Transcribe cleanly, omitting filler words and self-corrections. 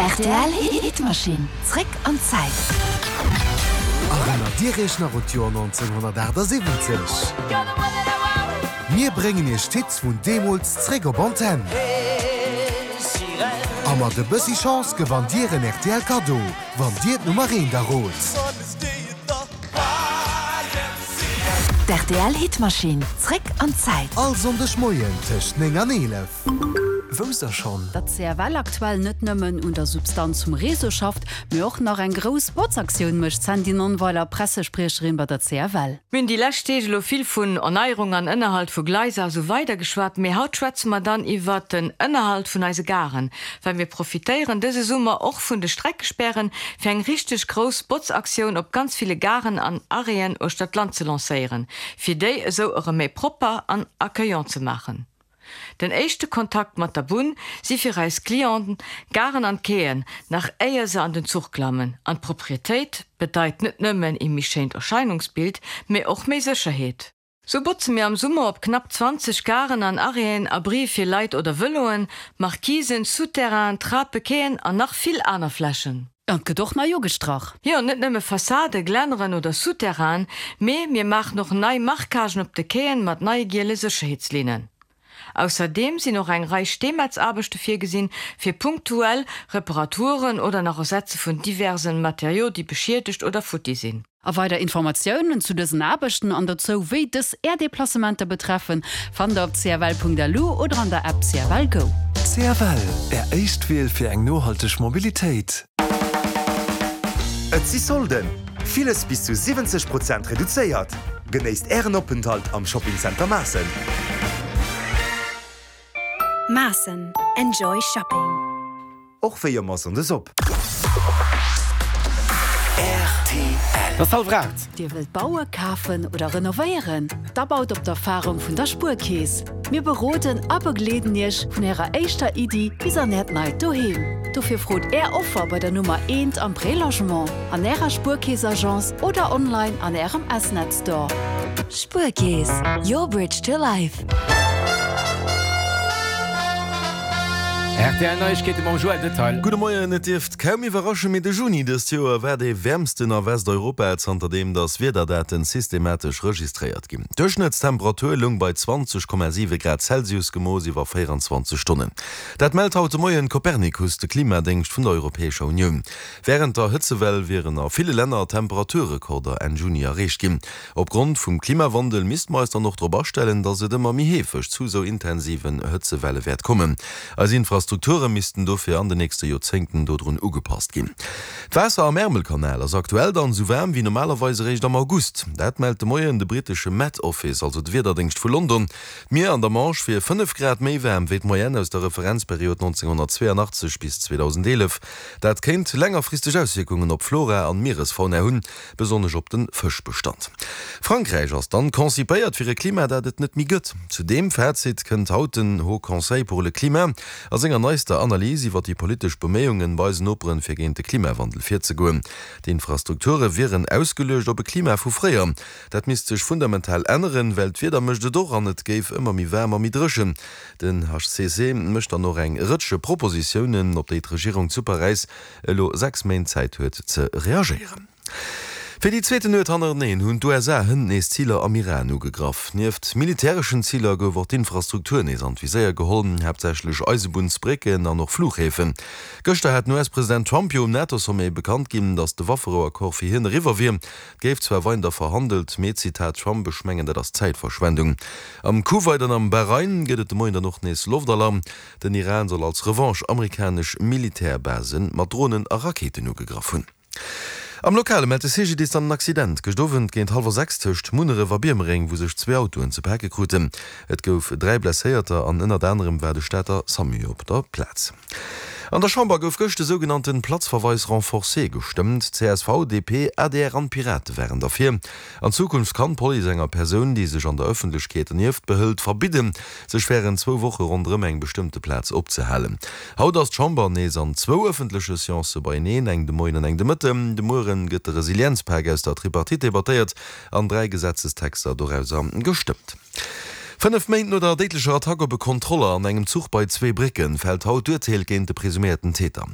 Rtl Hitmaschinn, zréck an d'Zäit. Erënnert Dir Iech nach un d'Joer 1978? Mir bréngen Iech d'Hits vun deemools zréck op Antenn. A mat e bëssi Chance gewannt Dir en rtl Kaddo, wann Dir d'Nummer eent errot. D'RTL Hitmaschinn, zréck an d'Zäit. All Sonndeg Moien tëscht 9 an 11. Wousst der schonn? Datt CFL aktuell net nëmmen un der Substanz vum Réseau schafft, mee och nach eng grouss Botzaktioun mécht, Sandy Nonnweiler, Pressespriecherin bei der CFL. Mir hunn déi lescht Deeg elo vill vun Erneierung an Ënnerhalt vu Gleiser a sou weider geschwat, mee haut schwätze mer dann iwwert den Ënnerhalt vun eise Garen, well mir profitéieren dëse Summer och vun de Streckespären, fir eng richteg grouss Botzaktioun op ganz ville Garen an Arrêten uechter d'Land ze lancéieren, fir déi esou erëm méi propper an accueillant ze maachen. Den éischte Kontakt mat der Bunn si fir eis Clienten d'Garen an d'Quaien, nach éier se an den Zuch klammen. An d'Proprietéit bedeit net nëmmen ee méi schéint Erscheinungsbild, mee och méi Sécherheet. Sou botze mir am Summer op knapp 20 Garen an Arrêten, Abrie fir Leit oder Vëloen, Markisen, Souterrainen, Trape, Quaien an nach vill aner Flächen. An et gëtt och nei ugestrach. Jo, net nëmme Fassade, Glänneren oder Souterrainen, mee mir maachen och nei Marquagen op de Quaien mat neie giele Sécherheetslinnen. Ausserdeem sinn och eng Rei Steemetzaarbechte virgesinn, fir punktuell Reparaturen oder nach Ersetze vun diversen Matériaux, déi beschiedegt oder futti sinn. A weider Informatiounen zu dësen Aarbechten an dozou, wéi dës Är Deplacementer betreffen, fannt der op cfl.lu oder an der App CFL Go. CFL, Är éischt Wiel fir eng nohalteg Mobilitéit. Et si Solden! Villes bis zu 70 Prozent reduzéiert! Genéisst Ären Openthalt am Shopping Center Maassen! Maassen, Enjoy Shopping! Och wéi ëmmer Sonndes op. Et ass hallwer 8. Dir wëllt baue, kafen oder renovéieren? Da baut op d'Erfarung vun der Spuerkeess. Mir beroden a begleeden Iech vun Ärer éischter Iddi bis an Äert neit Doheem. Dofir frot Är Offer bei der Nummer eent am Prélogement, an Ärer Spuerkeess-Agence oder online an Ärem S-Net Store. Spuerkeess, your bridge to life. Rtl Neiegkeete mam Joël Detail. Gudde Moien, Et dierft kaum iwwerraschen, mee de Juni dëst Joer war dee wäermsten a Westeuropa zanterdeem datt Wiederdaten systematesch registréiert ginn. D'Duerchschnëttstemperatur loung bei 20,7 Grad Celsius, gemooss iwwer 24 Stonnen. Dat mellt haut de Moien Copernicus, de Klimadéngscht vun der Europäescher Unioun. Wärend der Hëtzewell wieren a ville Länner Temperaturrekorder Enn Juni erreecht ginn. Opgrond vum Klimawandel misste mer eis dann och drop astellen, dass et ëmmer méi heefeg zu sou intensiven Hëtzewelle wäert kommen. Eis Infrastrukture missten dofir an de nächste Joerzéngten dodrun ugepasst ginn. D'Waasser am Ärmelkanal ass aktuell dann sou waarm wéi normalerweis eréischt am August. Dat mellt de Moien de brittesche Met Office, also de Wiederdéngscht vu London. D'Mier an der Manche wier 5 Grad méi waarm wéi d'Moyenne aus der Referenzperiod 1982 bis 2011. Dat kéint längerfristeg Auswierkungen op Flora an Mieresfauna hunn. Besonnesch op den Fëschbestand. Frankräich ass dann concipéiert fir e Klima dat et net méi gëtt. Zu deem Fazit kënnt haut den Haut Conseil pour le Climat a senger neister Analys iwwer déi politesch Beméiungen bei eisen Noperen fir géint de Klimawandel virzegoen. D'Infrastrukture wieren ausgeluecht op e Klima vu fréier. Dat misst sech fundamental änneren, well d'Wieder mécht et och an et géif ëmmer méi waarm a méi dréchen. Den HCC mécht dann och eng Rëtsch Propositiounen, op déi d'Regierung zu Paräis elo 6 Méint Zäit huet ze reagéieren. Fir déi zweeten Nuet hannereneen hunn d'USA hënt nees Ziler am Iran ugegraff. Nieft militäreschen Ziler gouf och d'Infrastruktur nees an d'Viséier geholl, haaptsächlech Eisebunnsbrécken an och Fluchhäfen. Gëschter hat den US-President Trump jo um NATO-Sommet bekannt ginn, datt de Wafferouaccord fir hien eriwwer wier. Et géif zwar weider verhandelt, mee, Zitat Trump, ech mengen dat ass Zäitverschwendung. Am Kuwait an am Bahrain gëtt et de Moien dann och nees Loftalarm. Den Iran soll als Revanche amerikanesch Militärbase mat Dronen a Rakéiten ugegraff hunn. Am Lokale mellt de CGDIS dann en Accident gëscht Owend géint hallwer 6 tëscht Munneref a Biermereng, wou sech zwee Autoen ze pake kruten. Et gouf 3 Blesséierter an ënnert anerem war de Stater Samu op der Plaz. An der Chamber gouf gëscht de sougenannten Platzverweis renforcé gestëmmt. Csv, DP, adr an d'Pirate waren derfir. An Zukunft kann d'Police enger Persoun, déi sech an der Ëffentlechkeet dernieft behëlt, verbidden, sech wärend zwou Woche ronderëm eng bestëmmte Plaz opzehalen. Haut ass d'Chamber nees an zwou ëffentleche Seancë beieneen, eng de Moien an eng de Mëtten. De Mueren gëtt de Resilienzpak aus der Tripartite debattéiert an 3 Gesetzestexter dorauser gestëmmt. 5 Méint no der déidlecher Attack op e Kontroller an engem Zuch bei Zweebrécken fält haut d'Urteel géint de presuméierten Täter.